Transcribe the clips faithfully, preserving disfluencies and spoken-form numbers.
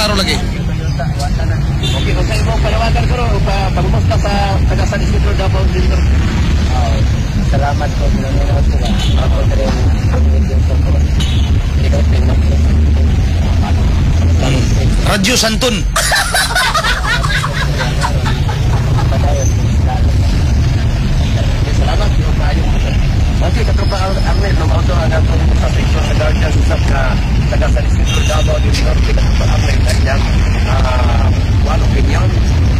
Klaro lagi. Okay, kung sa imong panawagan ko o pa pangumusta sa taga San Isidro, Davao del Norte. Oh, salamat po, nanonood sila. Ako rin, yung support. Ikaw, Radyo Santon. Padayon. Okay, salamat yung kaayo. Okay, katropa Arnel, no mao to ang atong sa section sa Guardians usab nga taga San Isidro, Davao del Norte, katropa Arnel, kanyang ah one opinion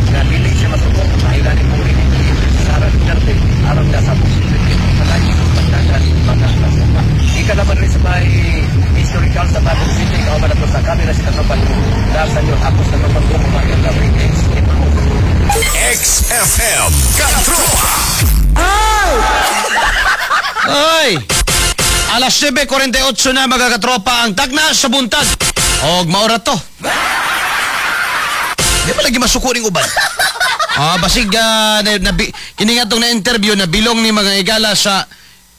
nga dili siya masuko mahila ni puri ni Sara Duterte aron na sa posible padayon pagdagan mga katropa. Ika naman rin sa may historical sa Bagong City, kauban na to sa camera si katropa Darsan yun, ako sa katropa Gumo, Marian Lavring, X F M. X F M Katropa. Ay! Alas nuwebe kuwarenta y otso na, mga katropa, ang tagna sa buntag. Og maora to. Di ba lagi masuko ning uban? Ah, basig uh, na, na, kini nga tong na-interview na bilong ni mga higala sa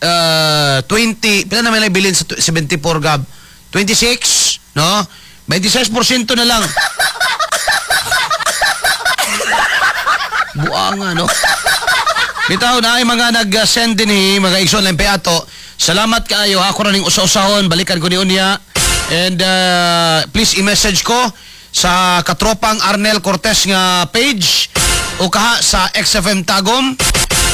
uh, twenty, pila na may bilin sa seventy-four gab? twenty-six, no? twenty-six percent na lang. Buanga, no? Bitaw na ay mga nag-send din eh, mga igsoon lang ato. Salamat kaayo. Ako ra ning usa-usahon, balikan ko ni unya. And uh, please i-message ko sa Katropang Arnel Cortez nga page o kaha sa X F M Tagum.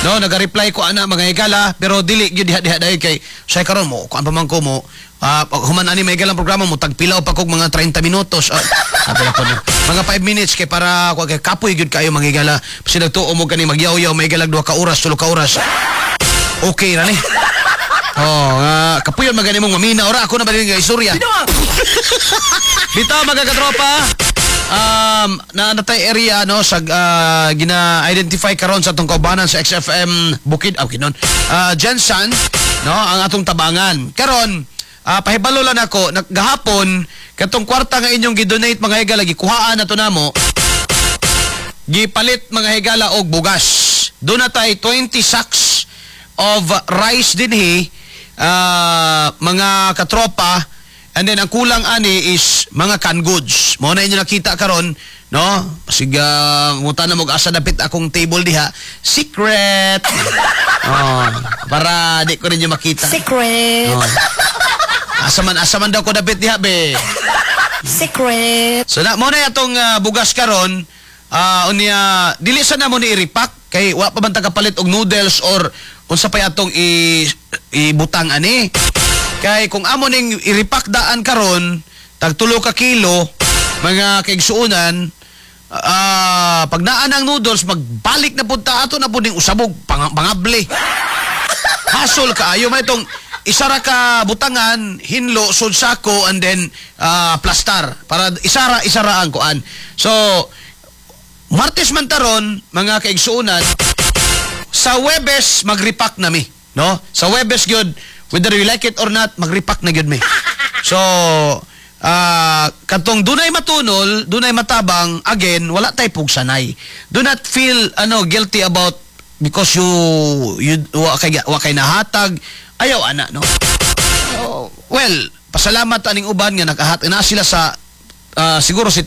No, naga-reply ko ana, mga higala, pero dili gyud diha diha dahil kay say karon mo kuan pa man ko mo ah, pag human ani may galang programa mo tagpilaw pa kog mga treinta minutos. Ah, sabi na po no. Mga five minutes kay para kay kapoy gyud kayo, mga higala. Sila tuo mo kani magyaw-yaw may galag duha ka oras, tulo ka oras. Okay ra ni. Oh, uh, kapuyon magani mong mamina ora ako na ba nga istorya. Bitaw, mga katropa, um, na natay area no sa uh, gina-identify karon sa atong kaubanan sa X F M Bukid, ah, Bukidnon. Uh, Jensen, no, ang atong tabangan. Karon, uh, pahibalo lang ako, gahapon katong kwarta nga inyong gi-donate, mga higala, gikuhaan na to namo. Gipalit, mga higala, og bugas. Doon na tay twenty sacks of rice dinhi, uh, mga katropa, and then ang kulang ani is mga canned goods. Mo na inyo nakita karon, no? Sige, uh, na mo asa dapit akong table diha. Secret. Oh, para di ko ninyo makita. Secret. Oh. Asa man asa man daw ko dapit diha be. Secret. So na mo na atong uh, bugas karon, uh, unya dili sa namo ni i-repack kay wa pa man ta kapalit og noodles or unsa pa atong i ibutang ani. Kay kung amo ning i-repack daan karon, tag tulo ka kilo, mga kaigsuonan, uh, pag naan ang noodles, magbalik na pud ta ato na pud ning usabog pang, pangable. Hasol kaayo may itong isara ka butangan, hinlo, sud sako, and then uh, plastar. Para isara, isara ang kuan. So, Martes man taron, mga kaigsuonan, sa Webes, magrepack na mi. No? Sa Webes gyud, whether you like it or not, magrepack na gyud mi. So, uh, katong dunay matunol, dunay matabang, again, wala tay pugsanay. Do not feel ano guilty about because you you wa kay wa kay nahatag, ayaw ana, no? So, well, pasalamat aning uban nga nakahat na sila sa uh, siguro si